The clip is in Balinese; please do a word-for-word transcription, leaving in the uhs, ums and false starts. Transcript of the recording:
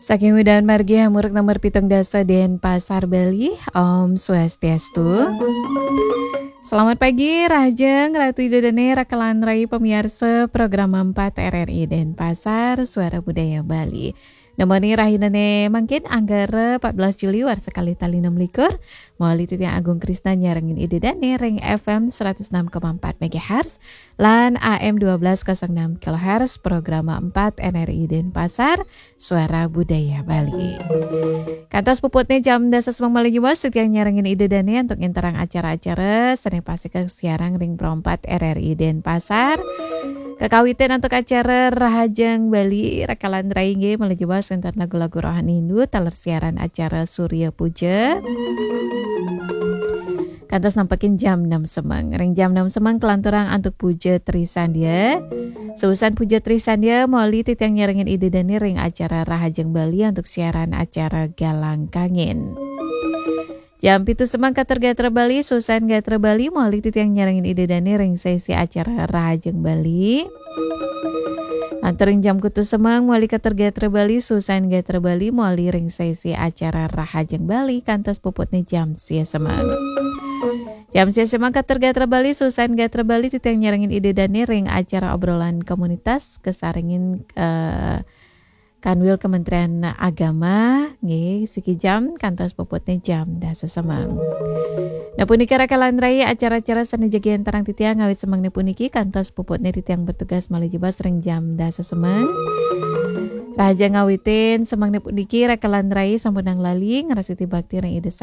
Saking Udan Margi Hamuruk nomor pitung dasa Denpasar, Bali. Om Swastiastu. Selamat pagi, rahajeng Ratu Ida Dane, raka lan rai pamiarsa Program empat R R I Denpasar, Suara Budaya Bali. Nemoni rahinane mangkin Anggara empat belas Juli warsa kalih tali enam likur, mawali titiang Agung Krisna nyarengin Ida Dane ring F M seratus enam koma empat megahertz lan A M dua belas kosong enam kilohertz, Program empat N R I Denpasar, Suara Budaya Bali. Kantos puputne jam dasa semeng malih nyuwun, titiang nyarengin Ida Dane antuk nginterang acara-acara sane pastika kasiarang ring Pro empat R R I Denpasar. Kakawitin antuk acara Rahajeng Bali, raka lan rai nggih malih nyuwun wenten lagu-lagu rohani Hindu, taler siaran acara Surya Puja. Kantos nampekin jam enam semeng. Ring jam enam semeng kalanturang antuk Puja Trisandya. Seusan Puja Trisandya, mawali titiang nyarengin Ida Dane ring acara Rahajeng Bali antuk siaran acara Galang Kangin. Jam pitu semeng katur gatra Bali, seusan gatra Bali, mawali titiang nyarengin Ida Dane ring sesi acara Rahajeng Bali. Lantur ring jam kutus semeng, mawali katur gatra Bali, seusan gatra Bali, mawali ring sesi acara Rahajeng Bali, kantos puputne jam sia semeng. Jam sia semeng katur gatra Bali, seusan gatra Bali, titiang nyarengin Ida Dane ring acara obrolan komunitas, kasarengin, eh, Kanwil Kementerian Agama, nggih, siki jam kantos puputne jam dasa semeng. Nah, punika raka lan rai acara-acara sane jagi enterang titiang ngawit semengne puniki kantos puputne titiang bertugas malih jebos ring jam dasa semeng. Rahajeng ngawitin semengne puniki raka lan rai sampunang lali ngrastiti bakti ring Ida Sang